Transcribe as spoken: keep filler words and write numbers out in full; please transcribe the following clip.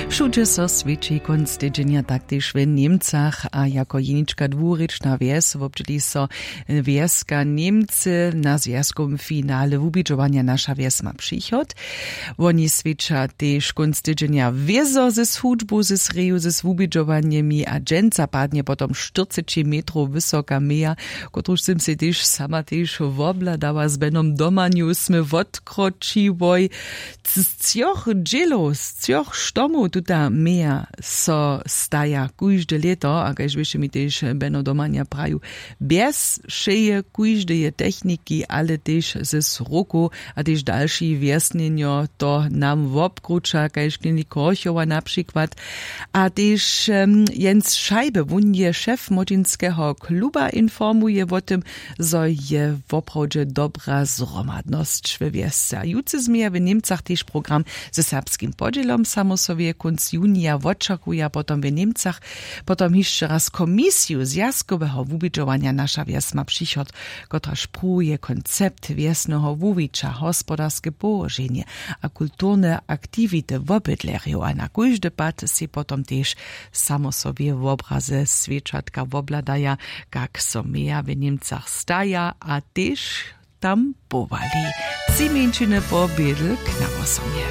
Wšudźe so swěći kónc tydźenja, tak tež w Němcach, a jako jenička dwurěčna wjes wobdźěli so wjeska Němcy na zwjazkowym finale wubidźowanja Naša wjes ma přichod. Woni swěća tež kónc tydźenja wězo ze swudźbu, ze sreju, ze swubidźowanjemi a dźensa padnje potom štyrceći metrow wysoka meja, kotruž sym sej tež sama tež wobhladała z benom domanju smy wotkročiłoj. Z třoch dźělow, z třoch štomow tuta meja so staja kóžde lěto, a kaž běše mi tež beno domanja praju, bjez wšeje kóždeje techniki, ale tež ze srokow a tež dalši wjesnjenjo to nam wobkruća kaž klinik korchowa na přikład. A tež jens šajby, wón je šef młodźinskeho kluba, informuje wo tym, zo je woprawdźe dobra zhromadnosć we wjesce. A jutře změja w němcach tež program ze serbskim podźělom samosowje kónc junija wočakuja potom w němcach potom hišće raz komisiju zwjazkoweho wubidźowanja naša wjes ma přichod, kotraž pruwuje koncept wjesneho wuwića, hospodarske połoženje a kulturne aktiwity wobydlerjow a na kóždy pad sej potom tež samosowje wobraze swěćatka wobhladaja, kak so meja w němcach staja a tež tam powali. Tři mjeńšiny po bědl k nawosomje.